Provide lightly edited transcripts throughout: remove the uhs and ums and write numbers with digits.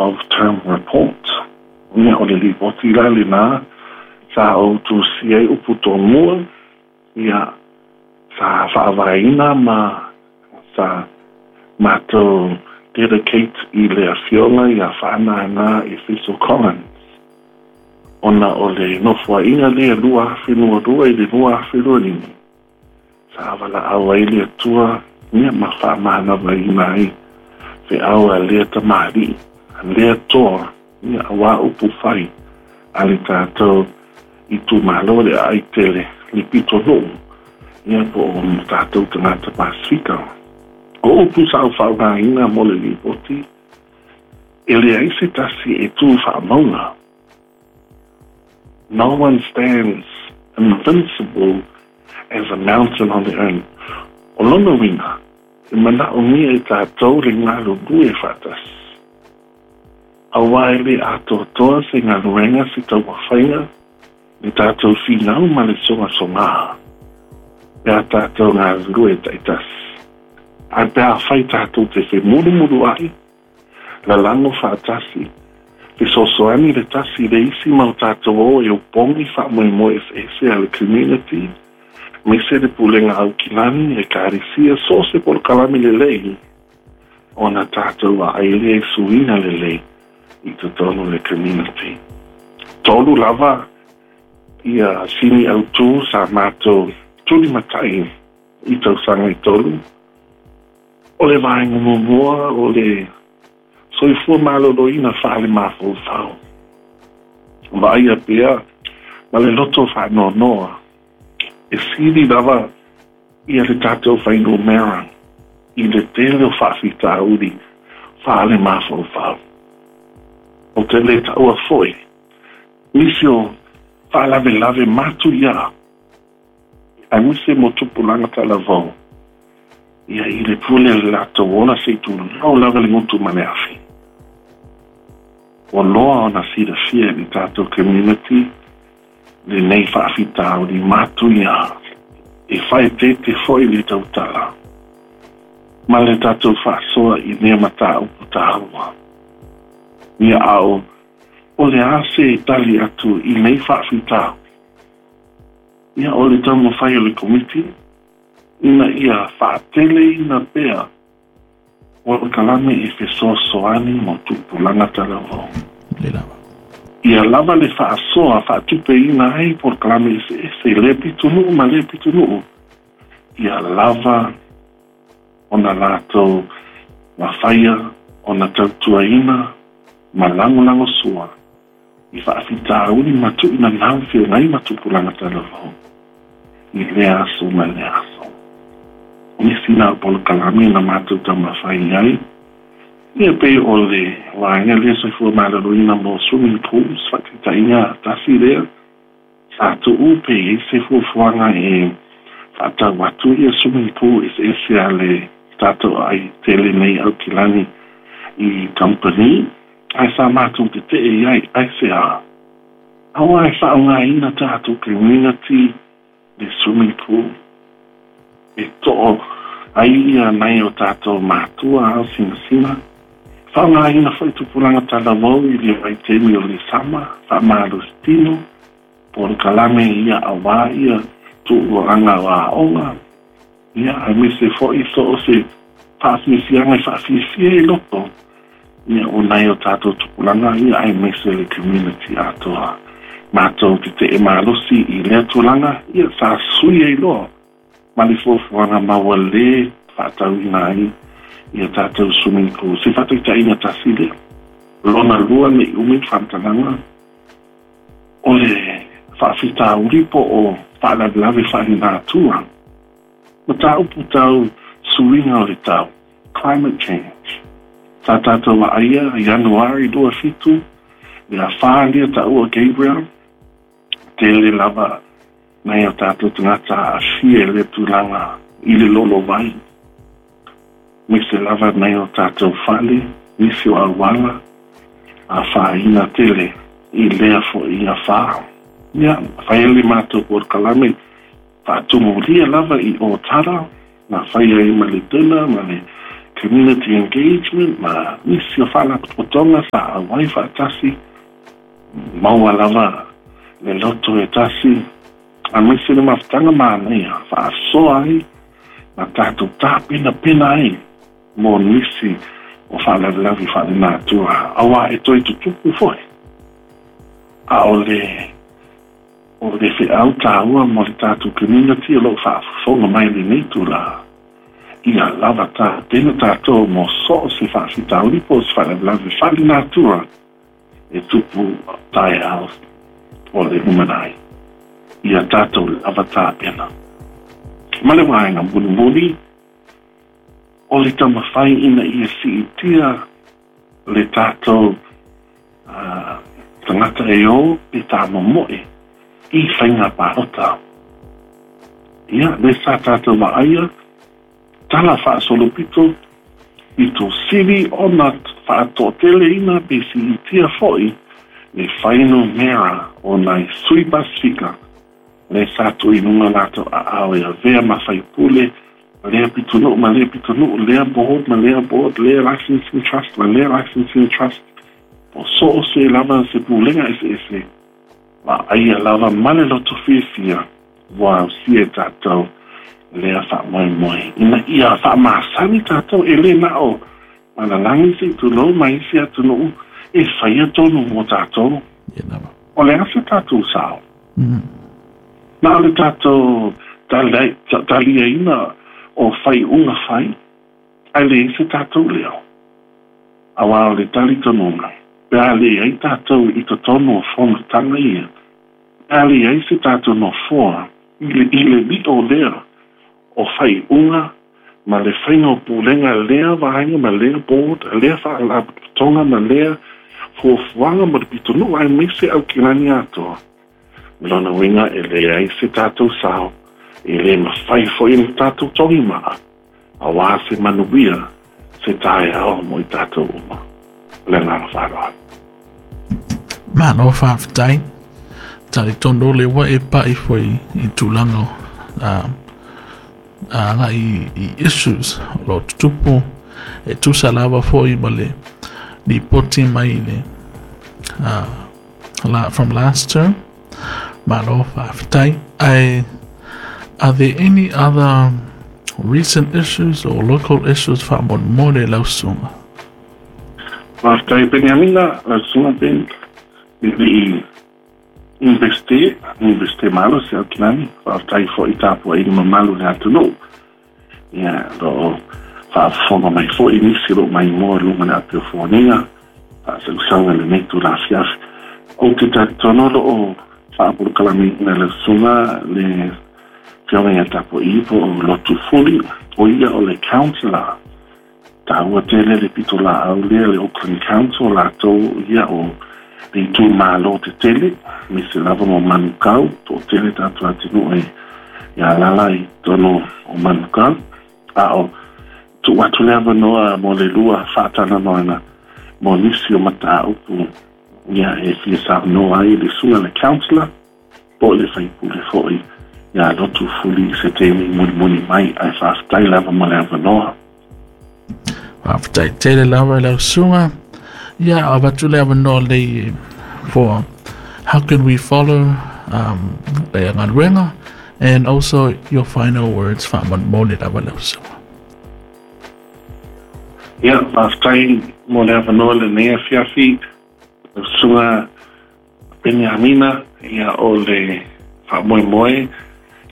of Term Report. Ia, o le lipoti la lenā sa ou tusia ai upu tomua, ia, sa faavaeina ma sa matou dedicate i le Afioga ia Faanana Efeso Collins, ona o le Nofoaiga lea 2022 i le 2025, sa valaau ai le Atua ia ma faamanavaina ai feau a lea tamalii, a lea toa, ia auā upu fai a le tatou itumalo le aai tele le pitonuu, ia po o tatou tagata Pasefika. O upu sa ou faaaogaina mo le lipoti, e leai se tasi e tu faamauga. No one stands invincible as a mountain on their own. O lona uiga, e manaomia e tatou le galulue faatasi. Aua e le atoatoa se galuega se taumafaiga, le tatou finau ma le sogasogā, pe a tatou galulue taitasi. Ae pe afai tatou te femulumuluai, lalago faatasi, fesoasoani le tasi i le isi ma o tatou o e opogi faamoemoe eseese a le community, aemaise le Pulega Aukilani, Ekalesia, so o se polokalame lelei, ona tatou vaai lea i suiga lelei i totonu o le community. Tolu lava ia sini autū sa matou tulimatai i tausaga e tolu. O le vaega muamua o le soifua maloloina faale-mafaufau. Vaaia pea ma le loto faanoanoa, e sili lava ia le tatou fuainumera i le tele o faafitauli faale-mafaufau. Ou te le taua foi nisi o faalavelave matuia aemaise mo tupulaga talavou, ia i le pule o le latou ola seia tulou lava le gutu ma le afi. Ua loa ona silafia e le tatou community lenei faafitauli matuia e faaeteete foi le tautala ma le tatou faasoa i lea mataupu taua. Ia a o le a se tali atu i nei faafitauli? Ia o le taumafai o le Komiti ina ia faateleina pea polokalame e fesoasoani mo tupulaga talavou. Ia lava le faasoa faatupeina ai polokalame eseese i lea pitonuu ma lea pitonuu, ia lava ona latou mafaia ona tautuaina ma lagolagosua i faafitauli ma tuuina feagai ma tupulaga talavou i lea aso ma lea aso. Nisi na polokalame na matou taumafai ai, ia pei o le vaega lea soifua maloloina mo swimming pools, faataitaiga tasi lea, sa tuu pe i ai se fuafuaga e faatau atu ia swimming pool eseese a le tatou aai tele nei Aukilani i kamupani, ae sa matou tetee i ai, aisea? Aua e faaaogaina tatou community le swimming pool e too ai ia nai o tatou matua ao sinasina. Faaaogaina foi tupulaga talavou i le vaitaimi o le sama, faamalositino, polokalame ia auā ia tuuaga o aoga, ia aemaise foi so o se faafiafiaga e faafiafia i loto ia o nai o tatou tupulaga ia aemaise le community atoa. Matou tetee malosi i lea tulaga, ia sa sui ai loa ma le fuafuaga ma ua lē faatauina ai ia tatou swimming pool. Se faataitaiga tasi lea. Lona lua ne i umi le faamatalaga, o le faafitauli po o faalavelave faalenatura, mataupu tau suiga o le tau, climate change. Sa tatou vaaia Ianuari 27 le afa lea taua Gabrielle, tele lava nai o tatou tagata aafia i lea tulaga i le lolovai, aemaise lava nai o tatou fale, nisi o auala, afaina tele i lea foi afa. Ia, fai ai le matou polokalame faatumulia lava i Otara, na fai ai ma le dinner ma le community engagement ma nisi o faalapotopotoga sa auai faatasi, maua lava le loto e tasi aemaise le mafutaga manaia faasoa ai ma tatou tapenapena ai mo nisi o faalavelave faalenatura, auā e toe tutupu foi. A o le o le feau taua mo le tatou community o lo o faafofoga mai i lenei itulā, ia lava tapena tatou mo so o se faafitauli po o se faalavelave faalenatura e tupu taeao o le lumanai. Ia tatou lava tapena. Ma le vaega mulimuli, o le taumafai ina ia siitia le tatou tagata e o pe tāmomoe i faiga palota. Ia, lea sa tatou vaaia, tala faasolopito, pito sili ona faatoateleina pe siitia foi le fuainumera o nai sui Pasefika lea sa tuu i luga latou aao e avea ma faipule lea pitonuu ma lea pitonuu, lea board ma lea board, lea licensing trust ma lea licensing trust, po so o se lava se pulega eseese, vaaia lava ma le loto fiafia ua ausia e tatou lea faamoemoe ina ia faamasani tatou, e le na o palalagi se i tulou ma isi atunuu e faia tonu mo tatou. Ia lava. O le a se tatou sao? Na o le tatou taliaina o faaiuga fai, ae leai se tatou leo. Auā o le talitonuga, pe a leai tatou i totonu o fonotaga ia, pe a leai se tatou nofoa i le lio lea o faaiuga ma le faiga o pulega lea vaega ma lea board, lea faalapotopotoga ma lea fuafuaga mo le pitonuu aemaise Aukilani atoa, o lona uiga e leai se tatou sao, e le mafai foi ona tatou togimaa auā se manuia se taeao mo i tatou uma. O le agaga faaaloalo. Malo faafetai. Talitonu le ua e pai foi i tulaga agai i issues o lo o tutupu e tusa lava foi ma le lipoti mai le from last term. Malo faafetai. Are there any other recent issues or local issues faamolemole lau susuga? Faafetai Peniamina, lau susuga Ben, e le i Iunivesite, Iunivesite malosi Aukilani, faafetai foi i tapuaiga mamalu i le atunuu. Ia, o lo o faafofoga mai foi nisi o lo o maimoa i luga o le api o Foniga, faasausauga i lenei itula afiafi. Ou te talitonu o lo o faapolokalameina e lau susuga le Afioga ia Tapuai po o Lotu Fuli, o ia o le Councillor. Taua tele le pitolaau lea le Auckland Council, latou ia o le itumalo tetele, aemaise lava mo Manukau, toatele tatou atunuu e alaala i totonu o Manukau. A o tuu atu le avanoa mo le lua faatalanoaga mo nisi o mataupu ia e fia saunoa ai le susuga i le Councillor po o le sui usufono foi ia Lotu Fuli i se taimi mulimuli mai, ae faafetai lava mo le avanoa. Faafetai tele lava i lau susuga. Ia, avatu le avanoa lei for how can we follow le galuega and also your final words faamolemole lava lau susuga. Ia, faafetai mo le avanoa lenei afiafi, lau susuga Peniamina, ia o le faamoemoe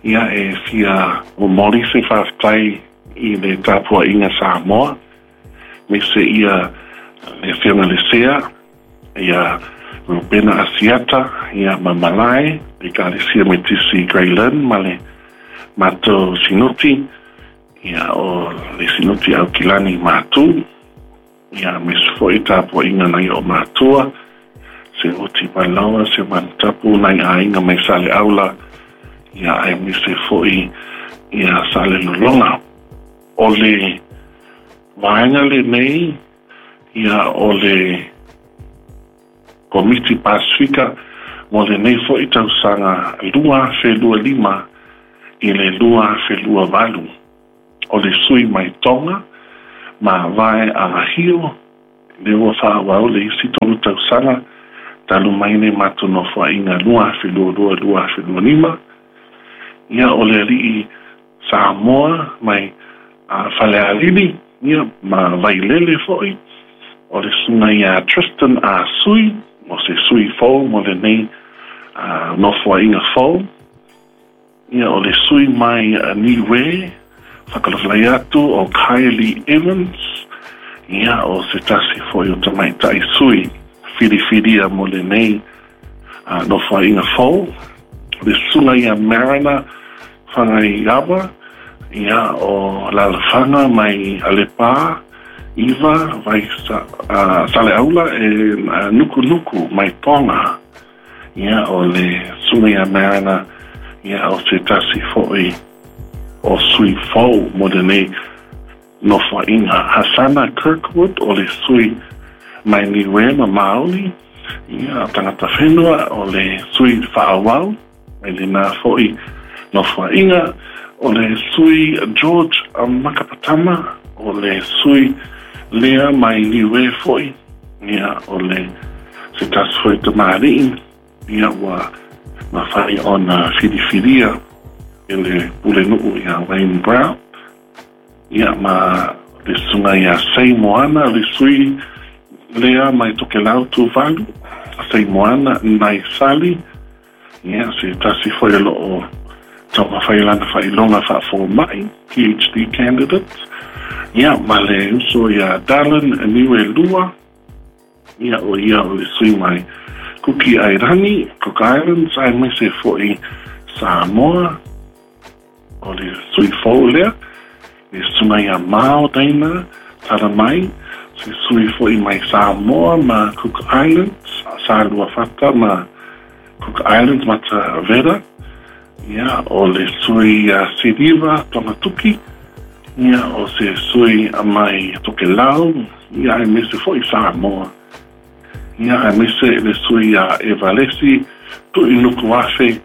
ia e fia momoli se faafetai i le tapuaiga Samoa, aemaise ia le Afioga i le Sea, ia Rupena Asiata, ia ma Malae, le Ekalesia Metisi Grey Lynn ma le matou Sinoti, ia o le Sinoti Aukilani Matu, ia aemaise foi tapuaiga nai o matua, se oti Palaoa, se Manutapu, nai aiga mai Saleaula, ia aemaise foi ia Salelologa. O le vaega lenei, ia o le Komiti Pasefika mo lenei foi tausaga 2025 i le 2028. O le sui mai Tonga Mavae a Hio, lea ua faaauau le isi 3 tausaga talu mai le matou nofoaiga 2022/2025. Ia, o le alii Samoa mai Falealili, ia, ma Vailele foi, o le susuga ia Tristan Ah Sui, o se sui fou mo lenei nofoaiga fou. Ia, o le sui mai Niue, faatalofa atu o Kylie Evans, ia, o se tasi foi o tamaitai sui filifilia mo lenei nofoaiga fou. Le susuga ia Mariner Fagaiava, ia, o Lalafaga mai Alepa, Iva, vai Saleaula e Nukunuku mai Tonga. Ia, o le susuga ia Mariner, ia, o se tasi foi o sui fou mo lenei nofoaiga. Hasana Kirkwood, o le sui mai Niue ma Maoli, ia, tagata whenua, o le sui faaauau mai lena foi nofoaiga. O le sui George Makapatama, o le sui lea mai Niue foi, ia, o le se tasi foi tamalii, ia, ua mafai ona filifilia e le pulenuu ia Wayne Brown. Ia, ma le susuga ia Sei Moana, le sui lea mai Tokelau Tuvalu, Sei Moana Nai Sali, ia, se tasi foi o loo taumafai lana faailoga faafomai, PhD candidate. Ia, ma le uso ia Darlin Niue Lua, ia, o ia o le sui mai Kuki Airani, Cook Islands, aemaise foi Samoa, o le sui fou lea. Le susuga ia Mao Daina Taramai, se sui foi mai Samoa ma Cook Islands, Saluafata ma Cook Islands Matavera. Ia, o le sui Siriva Tongatuki, ia, o se sui mai Tokelau, ia, aemaise foi Samoa. Ia, aemaise le sui a Evalesi Tuinukuafe,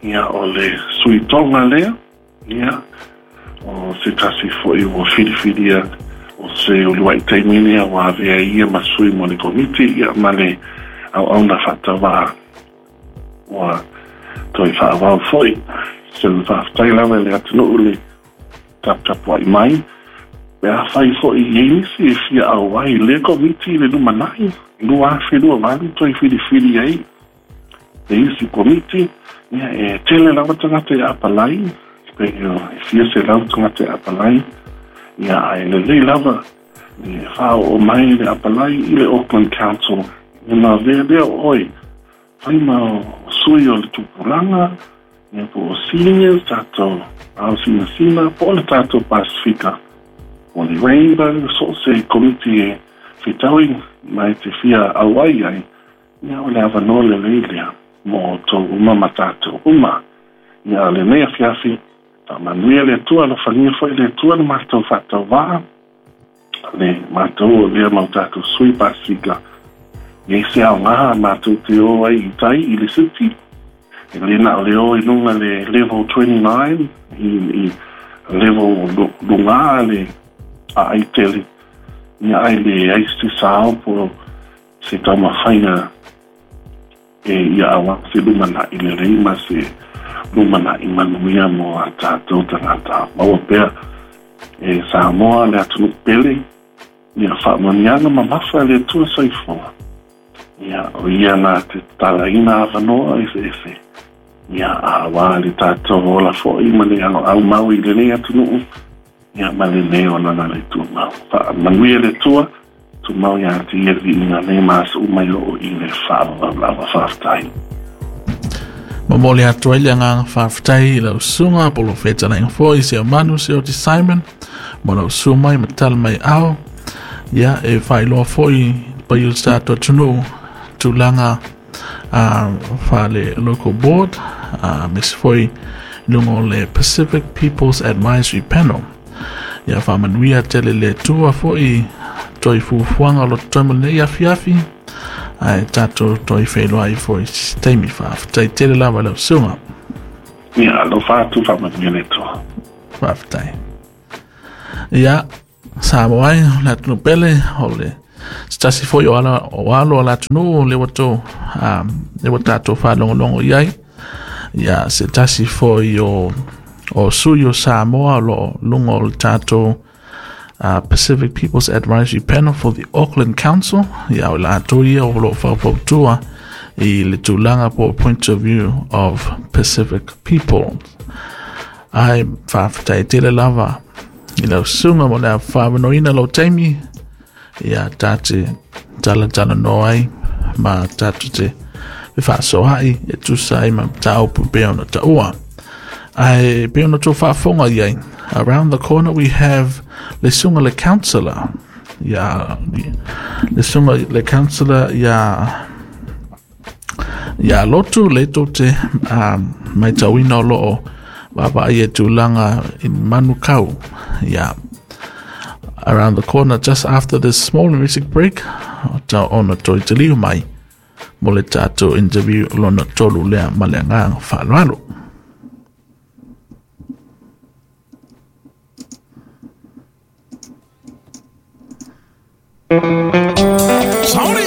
ia, o le sui Tonga lea, ia, o se tasi foi ua filifilia o se uluai taimi lea ua avea ia ma sui mo le komiti, ia, ma le auauna faatauvaa ua toe faaauau foi. Se faafetai lava i le atunuu le taputapuai mai. Pe afai foi i ai nisi e fia auai le komiti i le lumanai 2028 toe filifili ai le isi komiti, ia, e tele lava tagata e apalai, pe e fia selau tagata e apalai, ia, ae lelei lava le faaoo mai le apalai i le Auckland Council. Ona avea lea o oe fai ma sui o le tupulaga, ia, po o seniors, tatou ao sinasina, po o le tatou Pasifika, o le Rainbow, so o se komiti e fetaui mai te fia auai ai, ia, o le avanoa lelei lea mo outou uma ma tatou uma. Ia, lenei afiafi, faamanuia le Atua, alofagia foi le Atua le matou faatauvaa, le matou o lea mau tatou sui Pasifika. Ia se aoga matou te o ai i tai i le city, e le na o le o i luga le level 29, i level luga le aai tele, ia, ai le ai se sao po se taumafaiga e ia aua se lumanai lelei ma se lumanai manuia mo a tatou tagata. Maua pea e Samoa le atunuu pele, ia faamanuiaga mamafa le Atua soifua. Ia, o ia na te tatalaina avanoa eseese, ia, auā le tatou ola foi ma le aumau i lenei atunuu, ia, ma lenei olaga le tumau. Faamanuia le Atua, tumau ia te ia le viiga nei ma aso uma e oo i le faavavau lava. Faafetai. Momoli atu ai le agaga faafetai i lau susuga polofetalaiga foi Seumanu Seoti Simon mo lau susu mai ma tala mai ao. Ia, e faailoa foi paia o le tatou atunuu tulaga faale local board, aemaise foi i luga o le Pacific People's Advisory Panel. Ia, faamanuia tele le Atua foi toe fuafuaga o lo totoe mo lenei afiafi, ae tatou toe feiloai foi se taimi. Faafetai tele lava i lau susuga. Ia, alofa atu, faamanuia le Atua. Faafetai. Ia. Samoa ai, o le atunuu pele, o le se tasi foi o ala o alo o le atunuu lea ua tou lea ua tatou faalogologo i ai. Ia se tasi foi o sui o Samoa o lo o luga o le tatou Pacific People's Advisory Panel for the Auckland Council. Ia o latou ia o lo o faufautua i le tulaga po point of view of Pacific people. Ai faafetai tele lava i lau susuga mo le faavanoaina lou taimi ia ta te talatalanoa ai ma tatou te fefaasoaai e tusa ai ma mataupu pei ona taua. Ae pei ona outou faafofoga i ai, around the corner we have le susuga le councillor ia le susuga le councillor ia Lotu le tou te matauina o lo o vaavaai e tulaga i Manukau. Yeah. Around the corner just after this small music break, ta ona toe taliu mai mo le tatou interview lona tolu lea ma le agaga faaaloalo. Sauni!